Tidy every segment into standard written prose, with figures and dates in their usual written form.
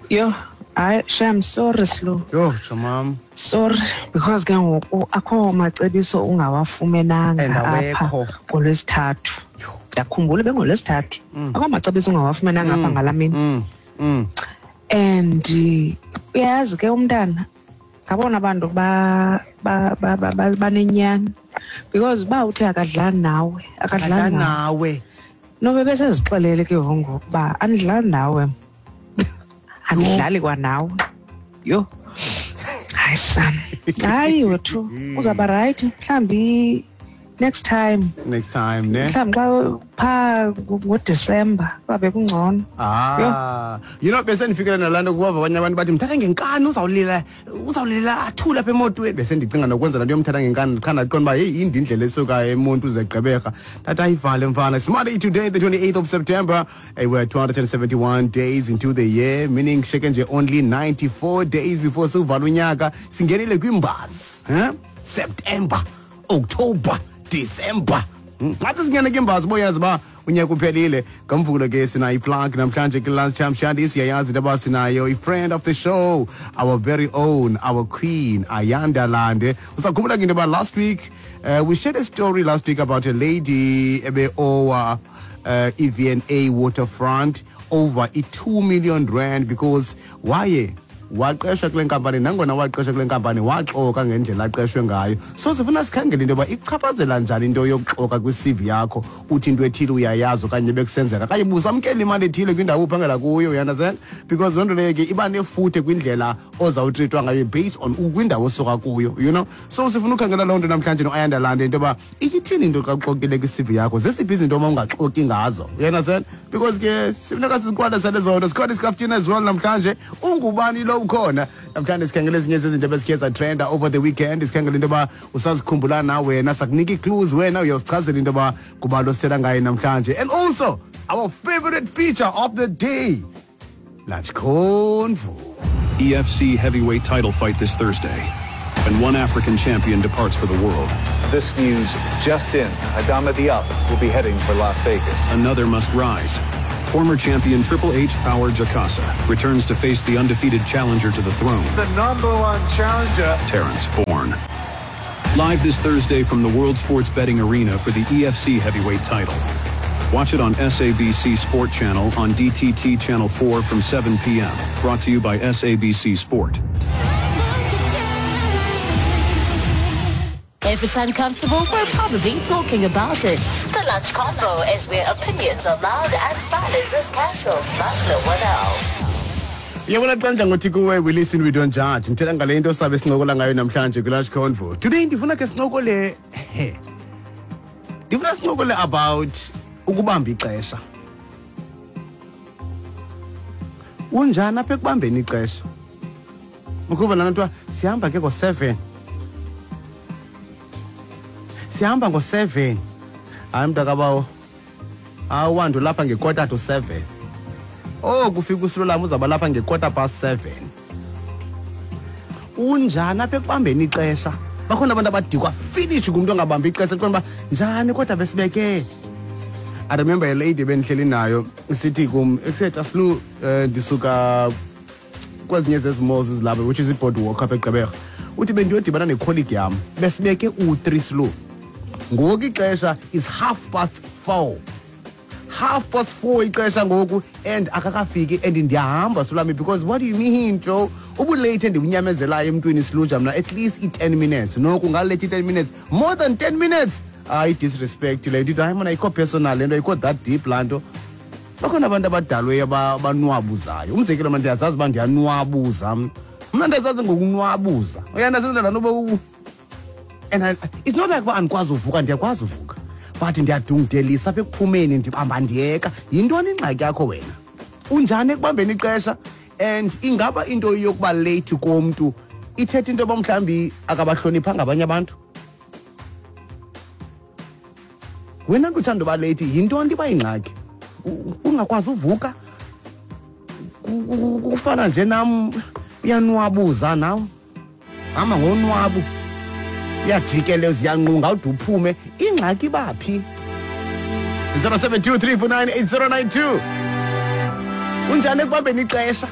Yho, hayi shame, sorry Slu. Yho, tshamam. Sorry because ke ngoku akho macebiso ungawafumenanga And apha awekho. ngoLwesithathu. Ndiyakhumbula bengolwesithathu. Akho macebiso ungawafumenanga apha ngalaa mini. And uyayazi ke umntana ngabona bantu banenyani because uba uthe akadlali nawe, akadlali Adla nawe. Nawe. Nobe besezixelele ke ngoku uba andidlali nawe, andidlali kwanawe. Yho, hayi sana, hayi wethu, uzawuba rayithi mhlawumbi next time. Next time, ne? Mhlawumbi xa phaa ngoDisemba kwabe kungcono. Ah, bese ndifikele nalaa nto kuba abanye abantu bathi mthatha ngenkani, uzawulila, uzawulila athule apha emotweni. Bese ndicinga nokwenza laa nto yomthatha ngenkani, qha ndaqonda uba heyi, inde indlela esuka eMonti uze Gqeberha. Ndathi ayivale mfana. It's Monday today, the 28th of September. Hey, we're 271 days into the year, meaning sheke nje only 94 days before siwuvala unyaka. Singenile kwimbazi, huh? September, October, December. Ngathi singene kwimbazi boyazi uba unyaka uphelile. Ngamvulo ke sinayo iplug namhlanje kwi-Lunchtime Shandy. Siyayazi into yoba sinayo i-friend of the show, our very own, our queen, Ayanda Lande. Usakhumbula ke into yoba last week, we shared a story last week about a lady ebe-owa EVNA Waterfront over i-2 million rand because waye waqeshwa kule nkampani. Nangona waqeshwa kule nkampani, waxoka ngendlela aqeshwe ngayo. So sifuna sikhangele into yoba ichaphazela njani into yokuxoka kwi-CV yakho, uthi into ethile uyayazi okanye bekusenzeka okanye busamkela imali ethile kwindawo uphangela kuyo, you understand? Because loo nto leyo ke iba nefuthe kwindlela ozawutreatwa ngayo based on kwindawo osuka kuyo. So sifuna ukhangela loo nto namhlanje noAyanda Lande, into yoba ithini into xa uxokile kwi-CV yakho, zesiphi izinto uma ungaxoki ngazo, you understand? Because ke sifuneka siziqwalasele zona. Sikhona isikaftyini as well namhlanje. Ungubani lo ukhona namhlanje? Sikhangela ezinye zezinto ebezikhe zatrenda over the weekend. Sikhangela into yoba usazikhumbula na wena, sakunika ii-clues, wena uyawusichazela into yoba ngubani osithetha ngaye namhlanje. And also our favorite feature of the day, Lunch Convo. EFC heavyweight title fight this Thursday, and one African champion departs for the world. This news just in. Adama Diop will be heading for Las Vegas. Another must rise. Former champion Triple H Power Djakasa returns to face the undefeated challenger to the throne, The number one challenger, Terence Bourne. Live this Thursday from the World Sports Betting Arena for the EFC heavyweight title. Watch it on SABC Sport Channel on DTT Channel 4 from 7 p.m. Brought to you by SABC Sport. If it's uncomfortable, we're probably talking about it. The Lunch Convo is where opinions are loud and silence is cancelled, like no one else. Yabona xa ndidla ngothi kuwe, we listen, we don't judge. Ndithetha ngale nto sabe sincokola ngayo namhlanje kwi-Lunch Convo today. Ndifuna ke sincokole, he, ndifuna sincokole about ukubamba ixesha. Unjani apha ekubambeni ixesha? Ukuba lana kuthiwa sihamba ke ngo-7, sihamba ngo-7, hayi mntakabawo, awuwandu lapha nge-6:45. Oh, kufika uSilolami uzawuba lapha nge-7:15. Unjani apha ekubambeni ixesha? Bakhona abantu abadikwa finish ngumntu ongabambi ixesha, kuqonda uba njani kodwa besibeke. I remember a lady bendihleli nayo sithi kum ekuseta Slu, ndisuka kwezinye zezi malls ezilapha, which is iBoardwalk apha eGqeberha. Uthi bendiyodibana necolleague yam, besibeke u-3 Slu, ngoku ixesha is 4:30, 4:30 ixesha ngoku, and akakafiki and ndiyahamba sulami, because what do you mean, Joe? Ubulate endibunyamezelayo emntwini siluja mna at least i-10 minutes, noko ungalate i-10 minutes, more than 10 minutes, hayi, disrespect le nto. Ithi hayi mna ayikho personal le nto, ayikho that deep laa nto. Bakhona abantu abadalweyo abanwabuzayo. Umzekelo, mna ndiyazazi uba ndiyanwabuza mna, mna ndiyazazi ngokunwabuza, uyandazenza laa nto uba and it's not like uba andikwazi uvuka, ndiyakwazi uvuka, but ndiyadungudelisa apha ekuphumeni, ndibamba ndiyeka. Yintoni ingxaki yakho wena? Unjani ekubambeni ixesha? And ingaba into yokuba late komntu ithetha into yoba mhlawumbi akabahloniphanga abanye abantu? Wena nto uthanda uba late, yintoni iba yingxaki? Ungakwazi uvuka, kufana nje nam, uyanwabuza nawe, hamba ngonwabu, uyajikeleza, uyanqunga ude uphume. Ingxaki baphi? 0723498092. Unjani ekubambeni ixesha?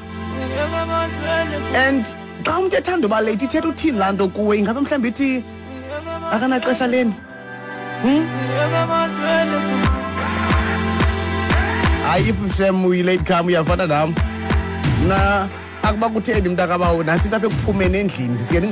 And xa umntu ethanda uba late, ithetha uthini laa nto kuwe? Ingabe mhlawumbi ithi akanaxesha leni? Hayi, if shem uyi-late come, uyafana nam. Mna akuba kutheni, mntakabawo, nantsi into apha ekuphumeni endlini, ndisike.